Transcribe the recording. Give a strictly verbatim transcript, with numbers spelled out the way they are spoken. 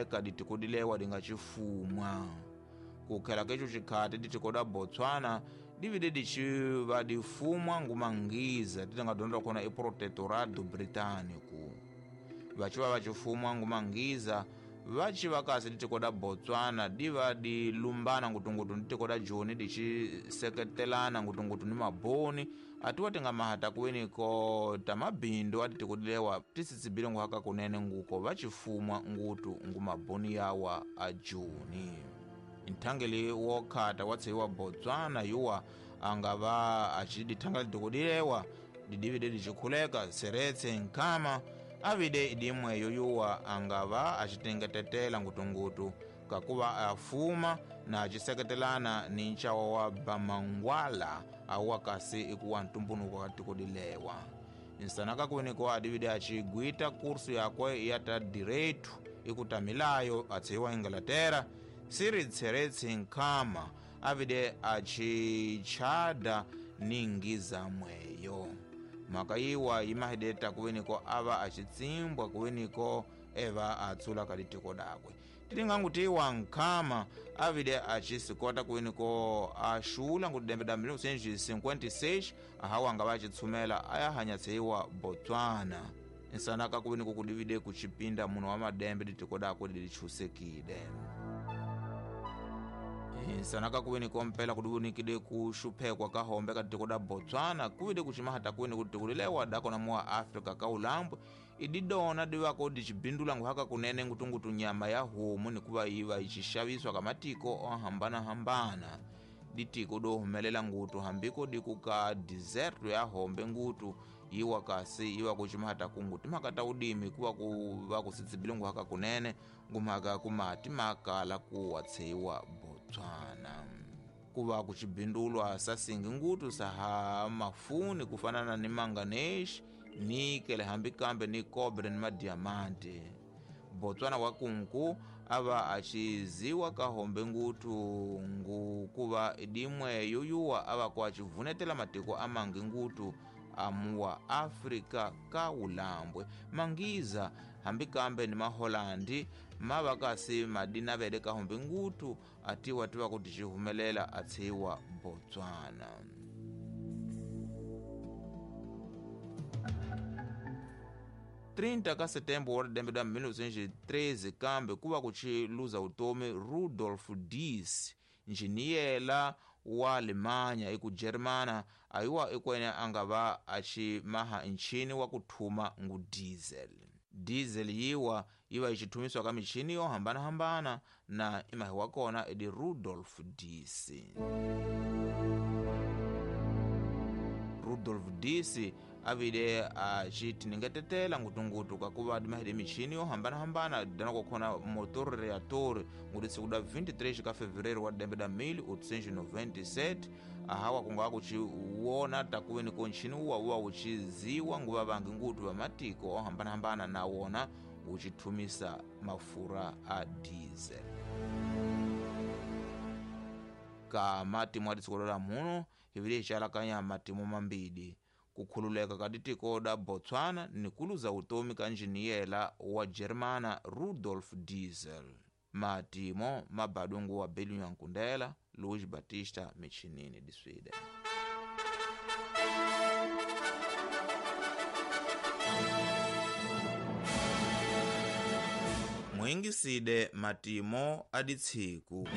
Ka ditiko dilewa di nga cifumwa kukhela keco cikhati ditiko da Botswana divide diciva difumwa ngumangiza ti nga dyondza kona i Protectorado Britânico. Vaciva va cifumwa ngumangiza vaci va kasi ditiko da Botswana diva di lumbana ngutungutu ni tiko da Joni di ci seketelana ngutungutu ni maboni atiwa ti nga mahata kuweni ko ta mabindu a titiko dilewa ti sitsibile nguhaka kunene nguko va cifumwa ngutu ngu maboni yawa a Joni. Nthangeli wo khata wa tseiwa Botswana yuwa anga va a ci dithanga litiko dilewa didivide dicikhuleka Seretse Nkhama avide idimweyo yuwa angava acitengetetela ngutungutu kakuva afuma na aciseketelana ni ncawa wa Bamangwala awa kasi ikuwa ntumbunuko ka tiko dilewa. Nsanaka kuweniko adivide acigwita kursu yakwe ya ta direito ikutamilayo atseiwa Inglaterra. Siri Seretse Nkhama avide acichada ningiza mweyo mhaka yiwa yimahideta kuweniko ava acitsimbwa kuweniko eva atsula ka litiko dakwe. Tilingangutiwa Nkhama avide acisikota kuweniko axula ngudembe da mil novecentos e cinquenta e seis ahawa anga va acitshumela aya hanyatseiwa Botswana. Nsanaka kuweniko kudivide kucipinda muno wa madembe litiko dakwe lilichusekile. Sanaka kuweni kompela kudunikide kushuphekwa ka hombe ka tiko da Botswana kuwide kucimahata kuweni kutikulilewa dako na muwa Afrika ka ulambwe ididona diwako dicibindula nguhaka kunene ngutungutu nyama ya homu nikuva iva icixaviswa ka matiko ohambana-hambana. Ditiko do humelela ngutu hambiko diku ka deserto ya hombe ngutu iwa kasi iwa kucimahata kungu timhaka ta udimi kuva ku va kusitsibile nguhaka kunene ngumhaka kumati makala kuwa tseiwa Botswana. Kuva kucibindulwa sasingi ngutu saha mafuni kufanana ni manganese, nikele hambi kambe ni cobre ni madiamante. Botswana wa kunku ava aciziwa ka hombe ngutu ngu kuva idimwe yuyuwa ava ku acivunetela matiko amangi ngutu amuwa Afrika ka ulambwe. Mangiza hambi kambe ni maholandi mava kasi madina vele ka hombe ngutu atiwa tiwa kuti cihumelela atsiwa Botswana. trinta ka setembro wa dembe da mil novecentos e treze kambe kuva kuciluza utomi Rudolf Dies njiniyela wa Alemanya iku Germana ayiwa ikwene angava acimaha nchini wa kuthuma ngu diesel. Diesel yiwa iva icithumiswa ka michini yo hambana-hambana na imahi wa kona idi Rudolf Dies. Rudolf Dies avile acitiningetetela ngutungutu kakuva dimahide michini yo hambana-hambana dana kukhona motor reator nguti siku da vinte e três ka fevereiro wa dembe da mil oitocentos e noventa e sete ahawa kunga kuciwona takuweni ko nchini uwa uwa uciziwa nguva vangi ngutu va matiko ohambana-hambana na wona ucithumisa mafura a diesel. Ka matimo a ditiko la muno hivile icalakanya matimo mambili kukhululeka ka ditiko da Botswana ni kuluza utomi ka njiniyela wa Germana Rudolf Diesel. Matimo mabadungu wa Belu Nyankundela, Luiz Batista Michinini di Sweden. Mwingiside matimo aditsiku.